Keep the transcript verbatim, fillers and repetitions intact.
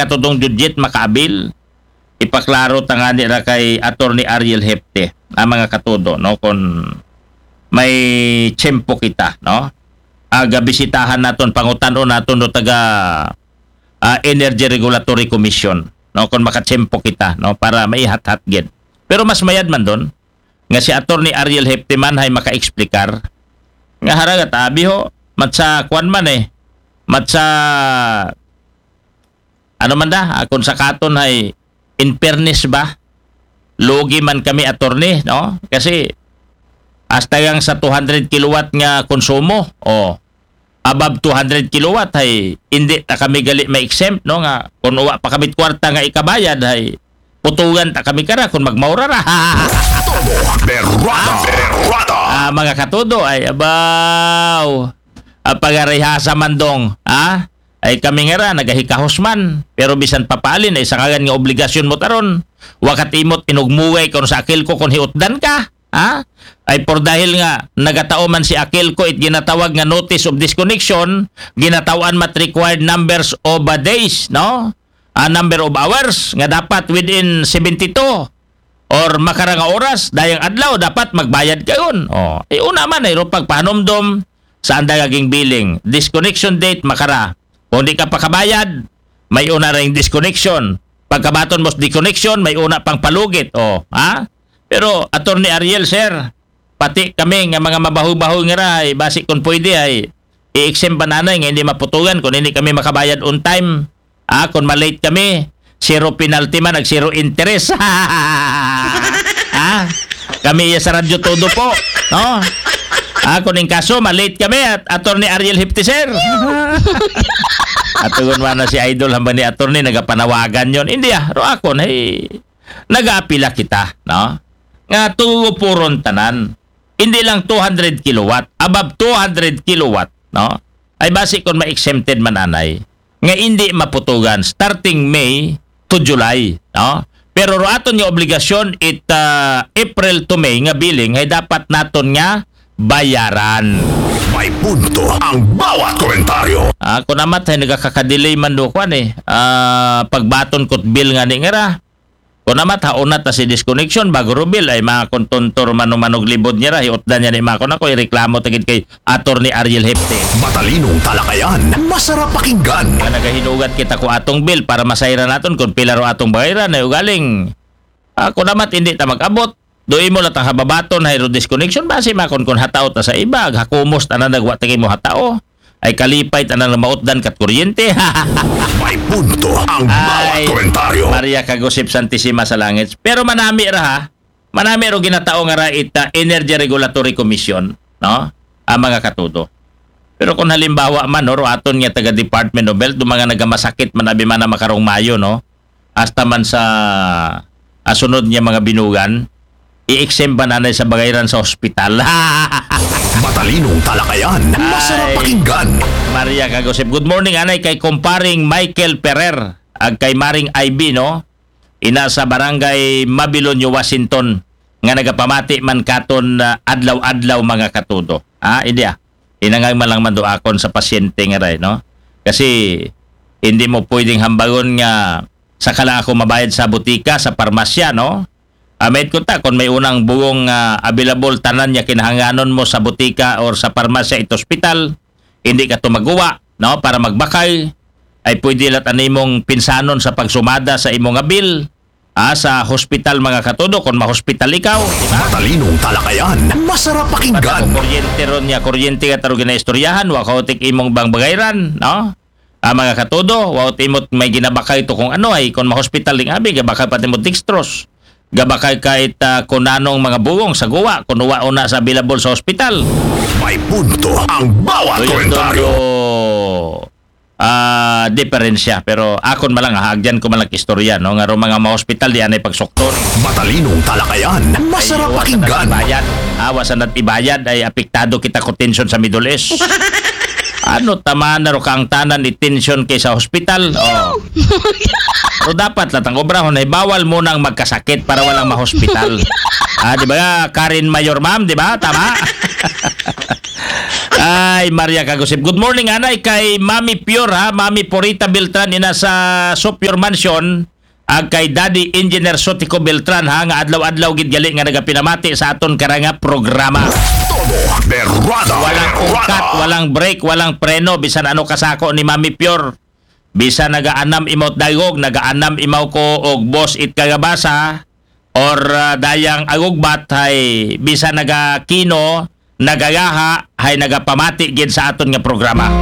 Katudong Judgit makaabil. Ipaklaro ta ngani ra kay Attorney Ariel Hepte, ang mga katudo, no, kung may tiyempo kita, no? Aga bisitahan naton, pangutan-on naton do taga, ah, Energy Regulatory Commission, no, kung makatiyempo kita, no, para maihathat gid. Pero mas mayad man don nga si Attorney Ariel Hepte man hay maka-explicar nga haragat abi ho, matsa kwan man eh, matsa ano man da, ah, kung sa katon hay in fairness ba, lugi man kami, attorney, no? Kasi hasta yang sa two hundred kilowatt nga konsumo, o above two hundred kilowatt, hay hindi ta kami gali ma-exempt, no? Nga kung uwa pa kami kwarta nga ikabayad, hay putugan ta kami kara kung magmaura ra. Todo berrada, berrada. Ah, mga katudo, ay abaw. Ah, pagarihasa man dong, ah? Ay kami nga ra, nagahikahos man. Pero bisan papaalin, ay sangagan nga obligasyon mo taron. Wakat imot inugmugay kung sa akil ko kung hiutdan ka. Ha? Ay por dahil nga nagatao man si akil ko it ginatawag nga notice of disconnection, ginatawan mat required numbers of, ah, days, no? Ah, number of hours nga dapat within seventy-two or makara nga oras, dayang adlaw dapat magbayad kayon. Oh, ay una man ay ro pagpahanumdom sa anda nga ginbilling. Disconnection date makara. Kung di ka pakabayad, may una ring disconnection. Pagkabaton mo sa disconnection, may una pang palugit. Oh, ha? Pero Attorney Ariel, sir, pati kami nga mga mabaho-baho nga ra, ay basi kung pwede ay i-exempt ba nanay nga hindi maputugan kung hindi kami makabayad on time. Ah, kung ma-late kami, zero penalty man, nag zero interest. Ah, kami iya sa radyo todo po, no? Ah, kung in kaso, ma-late kami at Attorney Ariel Hipti, sir. At tugon man na si Idol hambang ni Attorney, nagapanawagan yon. Hindi ah, ro akon, hey, nagaapila kita, no? Nga tugo puron tanan. Hindi lang two hundred kilowatt, above two hundred kilowatt, no? Ay basi kung ma-exempted man anay, nga hindi maputugan starting May to July, no? Pero ro aton nga obligasyon it ah, April to May nga billing ay dapat naton nga bayaran. May punto ang bawat komentaryo. Ah, kung amat ay nagakakadelay man do kwan eh. Ah, pagbaton ko't bill nga ni nga ra. Kung amat hauna ta si disconnection, bago ro bill ay mga kontontor manumanog libod niya ra, hiutdan niya ni mga kun ako, ireklamo tagid kay Attorney Ariel Hepte. Matalinong talakayan, masarap pakinggan. Nga nagahinugat kita ko atong bill para masayran naton kung pila ro atong bayran ay ugaling. Ah, kung amat hindi ta mag-abot, do imo lang tang hababaton, hay ro disconnection, basi makon kun hatao ta sa iba, ag hakumos tanan nagwa ta mo hatao. Ay kalipay tanan mautdan kat kuryente. May punto ang bawat Ay, komentaryo. Maria Kagusip Santisima sa Langit. Pero manami ra ha, manami ro ginatao nga ra ita Energy Regulatory Commission, no? Ang mga katudo. Pero kung halimbawa man, no, ro aton nga taga Department of Health, do mga nagamasakit man abi man na makarong mayo, no? Hasta man sa asunod niya mga binugan, i-exempt ba nanay sa bagayran sa hospital? Matalinong talakayan, masarap Ay. Pakinggan. Maria Kagusip. Good morning, anay kay kumparing Michael Perer, ag kay Maring I B, no? Ina sa barangay Mabilonyo, Washington, nga nagapamati man katon ah, adlaw-adlaw mga katudo. Ah, hindi ah. Inangay man lang man do akon sa pasyente nga ray, no? Kasi hindi mo pwedeng hambagon nga sa kala ako mabayad sa butika, sa parmasya, no? Amit ko ta, kung may unang bugong ah, available tanan niya kinahanganon mo sa butika or sa parmasya, ito hospital, hindi ka tumaguwa, no? Para magbakay, ay pwede lat animong pinsanon sa pagsumada sa imong nga bill, ah, sa hospital mga katudo, kung mahospital ikaw, di ba? Matalinong talakayan, masarap Basta pakinggan. kung kuryente ron niya, kuryente ka taro ginaistoryahan, wa ka utik imong bang bagayran, no? Ah, mga katudo, wa utik imot may ginabakay to kung ano ay, kung mahospital ding abi, gabakay pati mo dextrose. Gabakay kahit ah, kung nanong mga bugong sa guwa, kung wa una sa available sa hospital. May punto ang bawat Doon komentaryo. doon ah, diferensya. Pero akon malang, haagyan ko malang istorya, no? Nga ro mga mahospital, di anay pagsukton. Matalinong talakayan, masarap Ay, pakinggan. Ibayad. Awa sa nat ibayad, ay apektado kita ko tension sa Middle East. Ano tama na ro kang tanan ni tension kay sa hospital? Oh. Pero dapat latang obrahon ay bawal mo nang magkasakit para walang mahospital. Ah, di ba? Karen Mayor, ma'am, di ba? Tama? Ay, Maria Kagusip. Good morning, anay, kay Mami Pure, ha? Mami Purita Beltran, ina sa Sopure Mansion, ag kay Daddy Engineer Sotico Beltran, ha, nga adlaw-adlaw gid gali nga nagapinamati sa aton karanga programa. Todo de rada. Walang ungkat, walang break, walang preno, bisan ano kasako ni Mami Pure. Bisan nagaanam imaw dayog, nagaanam imaw ko og boss it kagabasa, or ah, dayang agugbat, hay bisan nagakino, nagagaha, hay nagapamati gid sa aton nga programa.